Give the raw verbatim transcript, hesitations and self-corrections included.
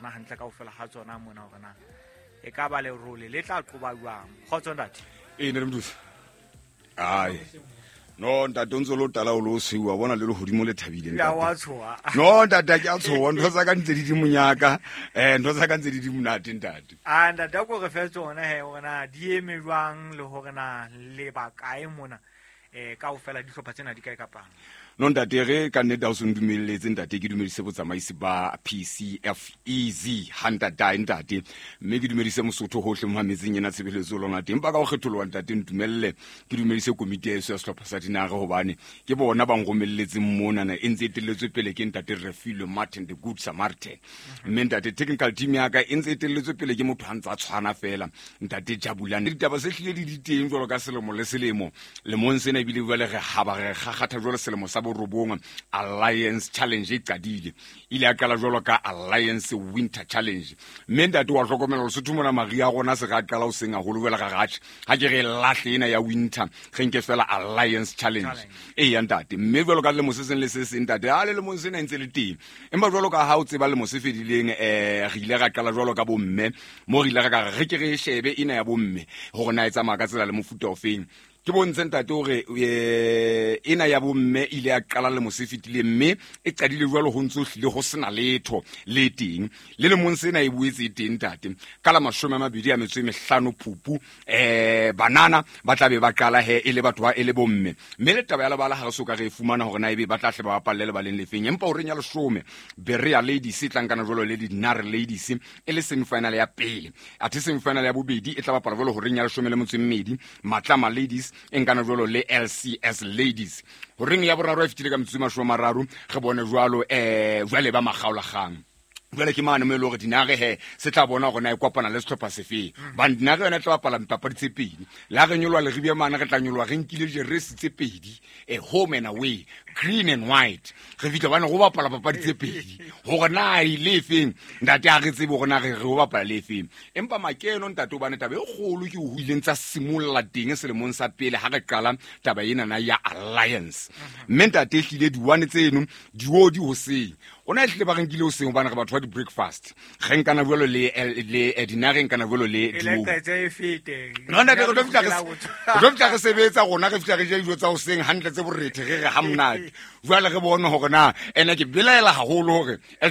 tsona hantle kaofela ha tsona mona hore na e ka ba lerole le tla qoba jwang. Kgotso ntate. Ee, ntate Mothusi. Ai no ntate, o ntse o le o tala o le o sweu, wa bona le lehodimo le thabile. Ya ntate. Wa tshoha. No ntate, ha ke a tshoha, ntho tsa ka ntse di di monyaka, um ntho tsa ka ntse di di monate, ntate. A ntate, a ko re fe tsona he hore na di eme jwang le hore na le ba kae mona, um kaofela dihlopha tsena di kae ka palo. No ntate, re ka nnete ha o se ntumelletse ntate, ke dumedise botsamaisi ba P C F E Z hantatae ntate, mme ke dumedise Mosotho hohle mo mametseng ena tshebeletso lona teng. Empa ka ho kgetholoha ntate, ntumelle ke dumedise komiti ya eso ya sehlopha sa Dinare, hobane ke bona ba nromelletseng monana, e ntse e etelletswe pele ke ntate Refilwe Martin, the Good Samaritan. Mme ntate, technical team ya ka e ntse e etelletswe pele ke motho ha ntse a tshwana fela, ntate Jabulane. Ditaba se hlile di di teng jwalo ka selemo le selemo. Lemong sena ebile jwale re haba re kgakgatha jwalo selemo sa borobong. Alliance Challenge e qadile, ile ya qala jwalo ka Alliance Winter Challenge. Mme ntate, wa hlokomela Lesotho mona maria a rona se re a qala ho seng haholo. Jwale ra ratjhe, ha ke re lahle ena ya winter, re nke fela Alliance Challenge. Challenge. Ee ya ntate, mme jwalo ka lemo se seng le se seng ntate, a le lemong sena e ntse le teng. Empa jwalo ka ha o tseba, lemo se fedileng um re ile ra qala jwalo ka bomme, mo re ile ra ka re re ke re e shebe ena ya bomme hore na e tsamaya ka tsela le mofuta ofeng. Ke bontshe ntate hore eh, ena ya bomme ile ya qala lemo se fetileng, mme e qadile jwalo ho ntso hlile ho sena letho le teng. Le lemong sena e boetse e teng ntate, ka la mashome a mabedi a metso e mehlano Phupu, um banana ba tla be ba qala he e le batho ba e le bomme. Mme le taba ya lebala ha re so ka re e fumana hore na ebe ba tla hle ba bapalle lebaleng lefeng. Empa horeng ya leshome, Berea Ladies e tlankana jwalo le Dinare Ladies e le semifinal ya pele, athe semifinal ya bobedi e tla bapala jwalo horeng ya leshome le metso e mmedi, Matlama Ladies e nkana jwalo le L C S Ladies. Horeng ya boraro e fetile ka metsotso e mashome a mararo, re bone jwalo um jwale ba makgaolakgang jwale ke mane mo e le hore Dinare he se tla bona hore na e kopana le sehlopha sefeng, bane Dinare yona e tla bapala dipapadi tse pedi. Le ha re nyoloha Leribia mane, re tla nyoloha re nkile jeresi tse pedi, eh, home and away, green and white. Re fihla bane go bapala papadi tse pedi, hore na e le efeng ntate, ha re tsebe hore na re re ho bapala le efeng. Empa makeno ntate, hobane taba e kgolo ke ho ileng tsa simolla teng selemong sa pele ha re qala taba enana ya Alliance. Mme ntate, ehlile di-one tseno diodi hoseng ona ehlile ba re nkile hoseng, hobane re batho ba di-breakfast. Re nkana jwalo le le eh, Dinare nkana jwalo le E Diodi. leqetse e fete. No ntate, re tlo fihla re re tlo fihla re sebetsa rona, re fihla re ja dijo tsa hoseng hantle tse borethe, re re ha monate. Jwale re bone hore na ene ke belaela haholo hore